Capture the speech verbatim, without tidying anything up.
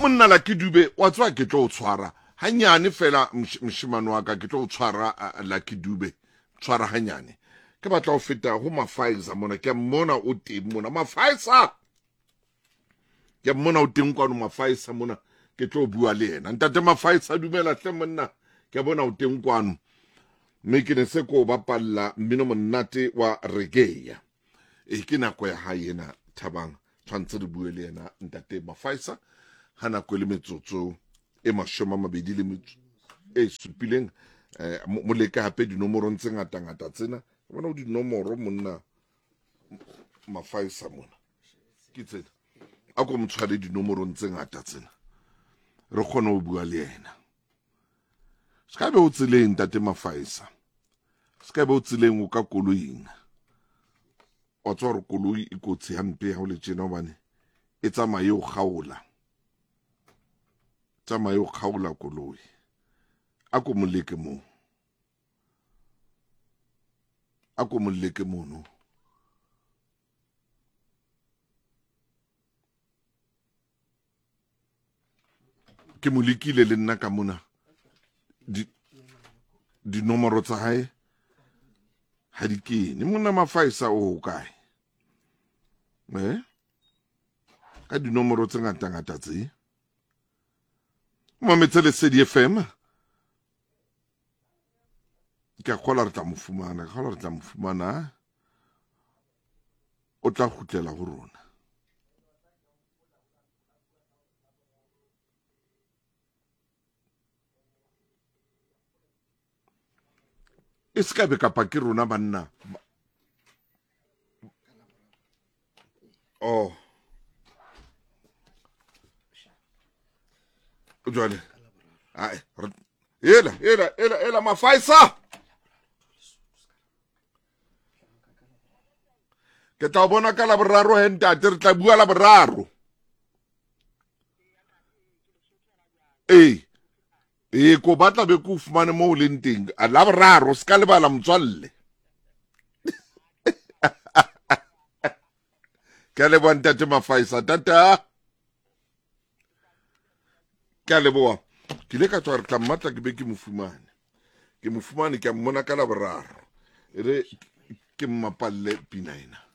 Monna Lucky Dube wa tswa ke tlo o tshwara hanyane fela moshemane wa ka ke tlo o tshwara Lucky Dube tshwara hanyane ke batla ho feta ho Mafaisa mona ke mona o teng mona Mafaisa ke mona o teng kwano Mafaisa mona ke tlo bua le yena ntate Mafaisa dumela hle monna ke bona o teng kwano mme ke ne se ko bapalla mmino monate wa reggae e ke nako ya hae ena Thabang tshwantse re bue le yena ntate Mafaisa ha nako le metsotso e mashome a mabedi le metso e supileng eh mo leka hape dinomorong tse ngata ngata tsena bona o dinomoro monna Mafaisa mona ke tsena a ko mo tshware dinomorong tse ngata tsena re kgone ho bua le yena se ka be o tseleng ntate Mafaisa se ka be o tseleng o ka koloing o tswa re koloi e kotsi hampe ha o le tjena hobane e tsamaye o kgaola tsamaye o kgaola koloi a ko moleke moo a ko moleke mono ke mo lekile le nna ka mona dinomoro tsa hae ha di kene monna Mafaisa o hokae eh ka dinomoro tse ngata ngata tse mametse Lesedi F M ke a kgola re tla mo fumana ke kgola re tla mo fumana o tla kgutlela ho rona e se ka be kapa ke rona banna oh jwale ai ela ela ela ela Mafaisa ke tla bona ka la boraro he ntate re tla bua la boraro ee e ko batla be ko fumane mo o leng teng a la boraro se ka lebala motswalle ke a leboha ntate Mafaisa tata ke a leboha ke ile ka tswa re tla mmatla ke be ke mo fumane ke mo fumane ke a mmona ka la boraro e re ke mmapalle pina ena.